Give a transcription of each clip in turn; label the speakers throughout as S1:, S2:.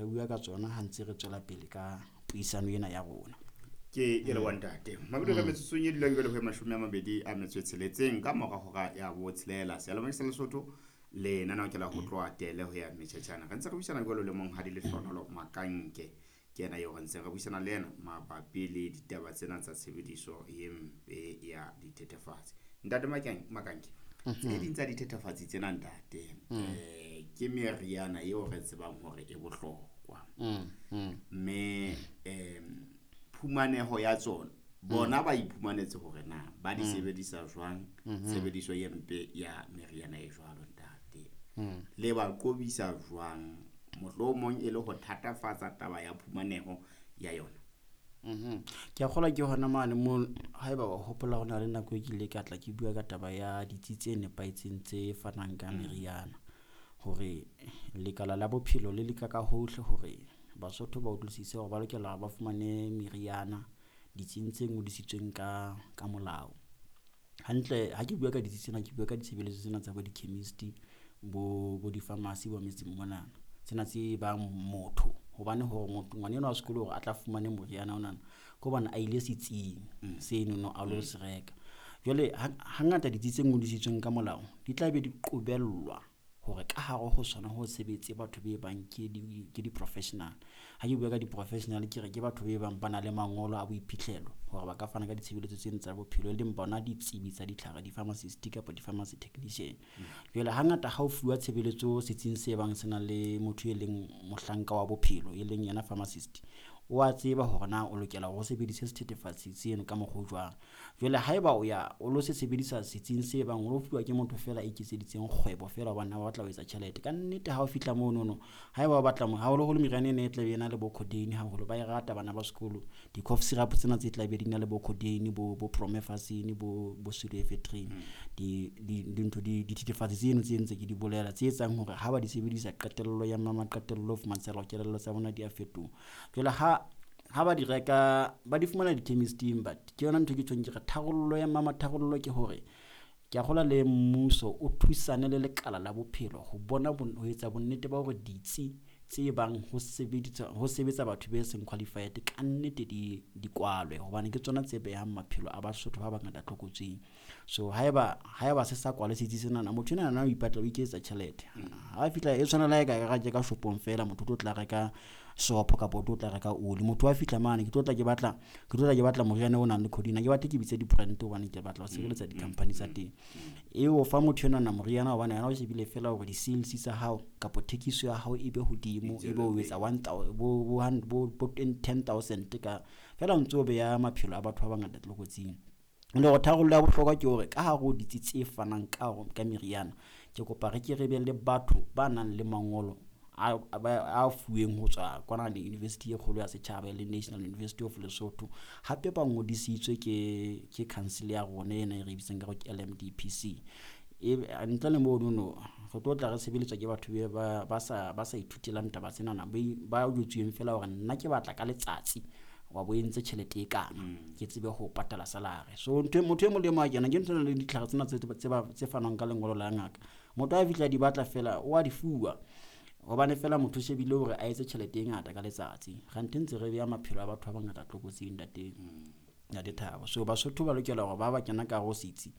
S1: re bua ka tsona ha ntse re tswela pele ka puisano ena ya rona.
S2: Ke e le wa ntate mabedi re metsotsong e dulang jwale ho 26 ka mora hora ya 6. Seyalemoya sa Lesotho lenaneo ke la ho tloha tele ho ya metjhetjhana. Re ntse re buisana jwalo le monghadi Lehlohonolo Makanke, ke yena eo re ntse re buisana le yena mabapi le ditaba tsena tsa tshebediso e mpe ya dithethefatsi. Ntate Makanke, tse ding tsa dithethefatsi tsena ntate, ke meriana eo re tsebang hore e bohlokwa, mme phumaneho ya tsona bona ba iphumanetse hore na ba di sebedisa jwang, tshebediso e mpe ya meriana e jwalo ntate, le ba qobisa jwang, mohlomong e le ho thatafatsa taba ya phumaneho ya yona.
S1: Ke a kgolwa ke hona mane mo haeba wa hopola hona le nako e ke ile ka tla ke bua ka taba ya ditsi tse nepahetseng tse fanang ka meriana, hore lekala la bophelo le leka ka hohle hore Basotho ba utlwisise hore ba lokela ba fumane meriana ditsing tse ngodisitsweng ka molao. Hantle ha ke bua ka ditsi tsena, ke bua ka ditshebeletso tsena tsa bo di-chemist, bo di-pharmacy bo metseng monana, tsena tse bang motho hobane hore motho ngwana enwa wa sekolo hore a tla fumane moriana onana ke hobane a ile setsing seno no a lo se reka. Jwale hangata ditsi tse ngodisitsweng ka molao di tla be di qobellwa hore ka hare ho sona ho sebetse batho be bang ke di-professional. Ha ke bua ka di-professional ke re ke batho be bang ba na le mangolo a boiphihlelo hore ba ka fana ka ditshebeletso tseno tsa bophelo, e leng bona ditsebi tsa ditlhare, di-pharmacist kapa di-pharmacy technician. Jwale hangata ha o fuwa tshebeletso setsing se bang se na le motho e leng mohlanka wa bophelo, e leng yena pharmacist, o a tseba hore na o lokela hore o sebedise sethethefatsi seno ka mokgwa o jwang. Jwale haeba o ya o lo se sebedisa setsing se bang o lo fuwa ke motho fela a iketseditseng kgwebo fela hobane a batla ho etsa tjhelete, ka nnete ha o fihla monono haeba o batla haholoholo meriana ena e tla be e na le bo codeine haholo, ba e rata bana ba sekolo, di-cough syrup tsena tse tla be di na le bo codeine, bo promethazine, bo pseudoephedrine, dintho dithethefatsi tseno tse ntse ke di bolela tse etsang hore ha ba di sebedisa qetello ya mama qetello fumantsha kelello tsa bona di a fetoha. Jwale ha ba di reka ba di fumana di-chemist-ing, but ke yona ntho ke tjhong ke re tharollo ya mama tharollo ke hore ke a kgolwa le mmuso o thusane le lekala la bophelo ho bona ho etsa bonnete ba hore ditsi tse bang ho sebetsa batho be seng qualified ka nnete di kwalwe, hobane ke tsona tse behang maphelo a Basotho ba bangata tlokotsing. So haeba se sa kwale setsi senana, motho enana na o ipatla o iketsetsa tjhelete. Ha fihla e tshwana le ha e ka reka ka shopong fela, motho o tlo tla reka sopo kapa o tlo tla reka oli. Motho wa fihla mane, ke tlo tla ke batla, ke tlo tla ke batla moriana o nang le codeine. Ha ke batle ke bitse di-brand hobane ke batla ho sireletsa di-company tsa teng. E o fa motho enwana moriana hobane yena o shebile fela hore di-sales tsa hao kapa thekiso ya hao e be hodimo, e be o etsa one bo, bo, bo, bo 10,000 ka fela o ntso beha maphelo a batho ba bangata tlokotsing. Le hore tharollo ya bohlokwa ke hore ka hare ho ditsi tse fanang ka meriana, ke kopa re ke re be le batho ba nang le mangolo a fuweng ho tswa kwana le university e kgolo ya setjhaba e leng National University of Lesotho, hape ba ngodisitswe ke council ya rona ena e re bitsang ka hore ke LMDPC. E ntle le mono re tlo tla re sebeletswa ke batho ba sa ithutelang taba tsenana, ba jwetsuweng fela hore nna ke batla ka letsatsi wa bo entse tjhelete e kana, ke tsebe ho patala salary. So ntho motho e mong le mong a kena ke ntho le ditlhare tsena tse fanwang ka lengolo la ngaka, motho a fihla di batla fela o a di fuwa hobane fela motho o shebile hore a etse tjhelete e ngata ka letsatsi. Kganthe ntse re beha maphelo a batho ba bangata tlokotsing ntate Thabo. So Basotho ba lokela hore ba kena ka hare ho setsi,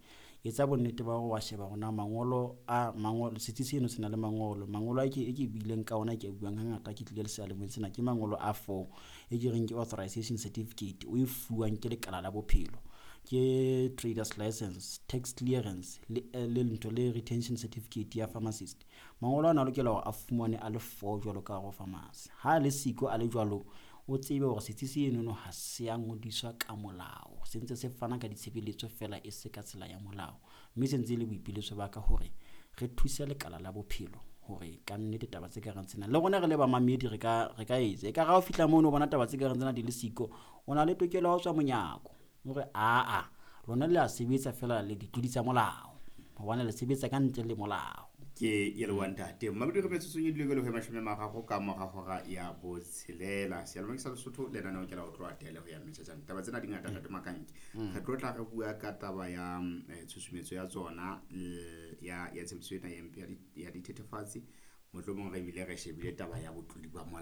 S1: etsa bonnete ba hore wa sheba hore na mangolo a mangolo, setsi seno se na le mangolo. Mangolo a ke e ke buileng ka ona, ke a buang hangata ke tlile le seyalemoyeng sena, ke mangolo a 4 e ke reng ke authorization certificate o e fuwang ke lekala la bophelo, ke traders license, tax clearance le ntho le retention certificate ya pharmacist. Mangolo ana a lokela hore a fumane a le 4 jwalo ka hare ho pharmacy. Ha le siko a le jwalo, o tsebe hore setsi senono ha se a ngodiswa ka molao, se ntse se fana ka ditshebeletso fela e se ka tsela ya molao. Mme se ntse e le boipiletso ba ka hore re thuse lekala la bophelo hore ka nnete taba tse kareng tsena le rona re le bamamedi re ka etsa. Ekare ha o fihla mono o bona taba tse kareng tsena di le siko, o na le tokelo ya ho tswa monyako hore aa lona le a sebetsa fela le ditlodi tsa molao, hobane le sebetsa ka ntle le molao.
S2: Ke e le wa ntate Mabedi re metsotsong e dule le ho 30 ka mora hora ya 6. Seyalemoya sa Lesotho lenaneo ke la ho tloha tele ho ya metjhetjhana. Taba tsena di ngata ntate Makanke. Re tlo tla re bua ka taba ya tshusumetso ya tsona ya tshebediso ena ya mpe ya dithethefatsi, mohlomong re bile re shebile taba ya botlodi ba molao.